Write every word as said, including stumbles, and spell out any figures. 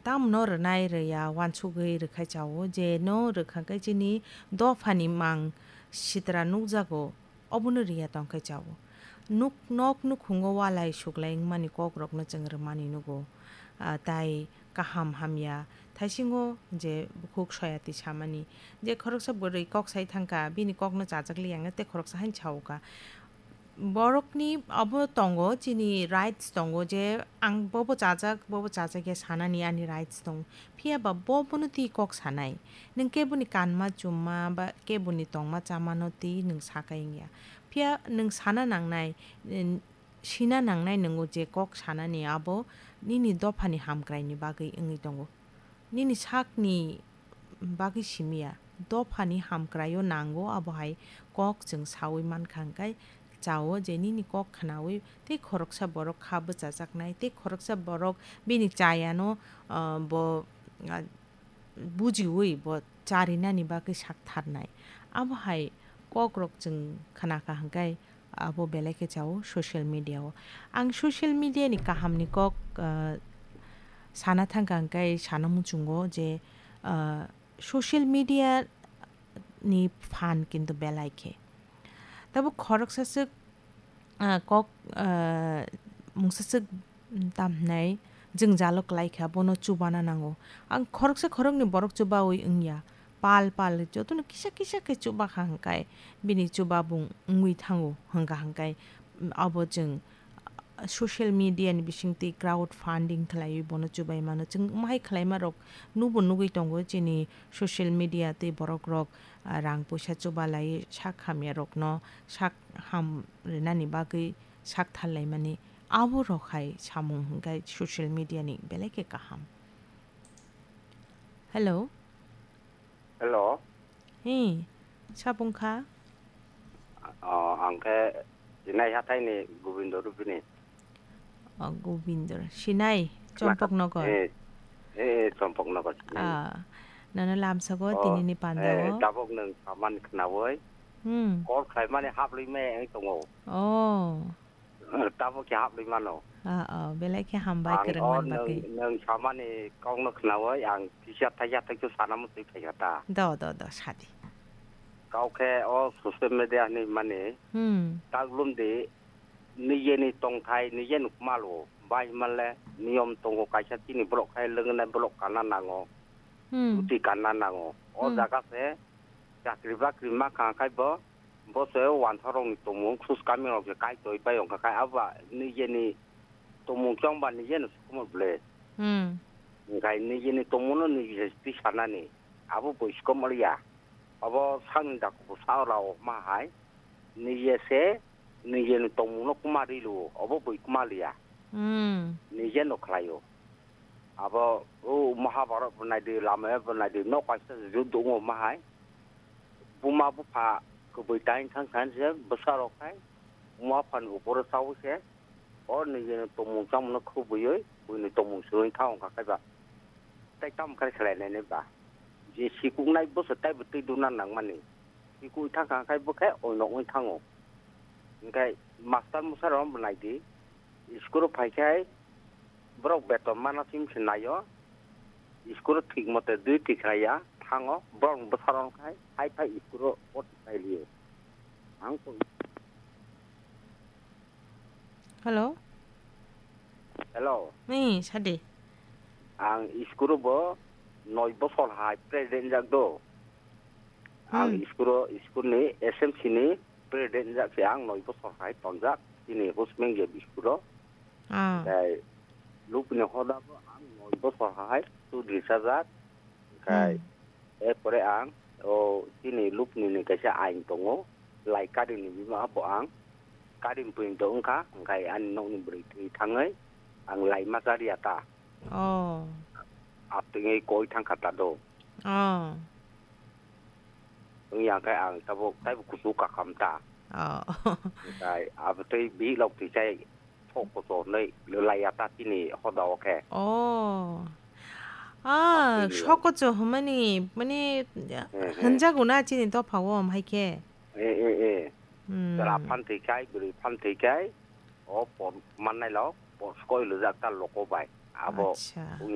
tamno rwnai rwya uansugwi rwkhai chao, je no rwkha khe chini dophani mang sitra nukjago, obono rwya tongkhai chao. Nuk, nok nukhungo walai suklai wngmani kokrokno chwng rwmani nugo. Ah, tai kaham hamya thaisingo je bukhuk soyati samani, je khoroksa bwrwi kok sai thangkha, bini kokno chajak liya wngkha tei khoroksa haino saoka. Borokni abo tongo, chini rights tongo je ang bobo chajak, bobo chajak ya sanani ani rights tongo. Phiya ba bo bono twi kok sanai. Nwng keboni kanma chumma ba keboni tongma chamano twi nwng sakai wngya. Phiya nwng sana nangnai, n-, sina nangnai nwngo je kok sanani abo nini dophani hamkraini bagwi wngwi tongo. Nini sakni bagwi simiya, dophani hamkraio nango, abo hai kok chwng saui mankha hwnkhe chao je nini kok khnaui tei khoroksa borok kha bwchajaknai, tei khoroksa borok bini chayano, ah, bo, ah, bujiui bo charinani bagwi saktharnai. Abo hai kokrok chwng khnakha hwnkhe abo belai khe chao social media o. Ang social media ni kahamni kok, ah, sana thangkha hwnkhe sana muchungo je, ah, social media ni phan kintu belai khe. Tabuk khoroksa swk, ah, kok, ah, mungsa swk tamhnai jwngjalo kwlai kha, bono chubana nango. Ang khoroksa khoroknwi borok chubaui wngya. Pal pal jotono kisa kisa khe chuba kha hwnkhe bini chubabung wngwi thango hwnkha hwnkhe, mm, abo chwng, ah, social media ni bisingtwi crowd funding khlaiwi bono chubai mano. Chwng omo hai khlaima rok nubo nugwi tongo chini social media tei borok rok, ah, rang puisa chuba lai sak hamya rokno sak ham rinani bagwi sak thar laimani. Abo rok hai samung hwnkhe social media ni belai khe kaham. Hello. Hello. Hi, sabung kha? O, ang khe Sinai hathai ni Gobindo Rupini. O, Gobindo. Sinai, Chompok Nogor. Eh, eh, eh, Chompok Nogor Sinai. Ah, nono lamsago O, tinini eh, panda o. Tabuk nwng saman khnaui. Hmm. Call khlaimani haplwi me wng tongo. Oh. Tabuk khe haplwi mano. Ah, oh, belai khe hambai Ang kwrwng o man nwng, bagwi. Nwng samani kokno khnaui ang kisa thaisa thaisa sana muchwi phaikha ta. Do, do, do, sadi. Kau khe o social media hinwi mani Hmm. taklum di, nijeni tongthai, nijeni kmalo. Bai himanle niyom tongo kaisa chini borok khai lwngnai borok kanna nango. Hmm. Duty kanna nango. O Hmm. jaga se chakri bakri ma kha khai bo, bo se wansarokni tongmung sus kamirok se kaitoi bai wngkha khai abo ba nijeni tongmung chongba nijeno sukumor ble. Hmm. Wngkhai nijeni tongmungno nije twi sanani abo bo sukumor ya. Abo sakni daku bo sa rao ma hai nije se nijeni tongmungno kuma ri luo obo bo kuma liya. Hmm. Nijeno khlaio. Abo o Mahabharat bo naidi, Ramayana bo naidi, nok kaisa juddo wngo ma hai. Buma bupha kwbwi tain thang thang se bwsa rok khai, buma buphani uporo chaui se, o nijeni tongmung chamungno khubui, buini tongmung swrwngwi thang wngkha khai ba. Tai tamo khe khlai nai nai ba? Je sikuknai bwsa taibo twi duna nangmani. Sikui thang kha khai bo khe oinok wng thango. Hwnkhe master mwsa rok bo naidi. School o phai khe borok beton mana sim se naio. School o thik mote dui tikhlaiya thango. Borok bwsarok khai hai phai school o o tiklai liyo. Ang koi Hello? Hello. Ni, sadi. Ang school o bo noi bosor hai president jak do. Ang Hmm. school o, school ni S M C ni president jak se ang noi bosor hai tonjak. Chini Husmengje school o. Ah. Tei lupni hoda bo ang noi bosor hai chudri sajak. Khai, Hmm. erpore ang o chini lupni ni kaisa ain tongo, lai karini bima bo ang karini pwini to wngkha, hwnkhe ani nokni bwrwi thwi thangwi ang lai ma cha rwya ta. Oh. Aptwngwi koi thangkha ta do. Oh. Wngya khe ang tabuk taibo kuchuk kakham ta. Oh. Hwnkhe abotwi bihik lok thwi chai sok kochor hinwi laiya ta chini hoda o khe. Oh. Ah, Abtwi sok kochor hwnmani, mani, Hmm, hmm. Hwnjago na chini dopha o, omo hai khe? Eh, eh, eh. Hmm. Chwla phan thwi khai, bwrwi phan thwi khai, o por mannai lo, por skoi lujak ta loko bai. Abo Acha. Wng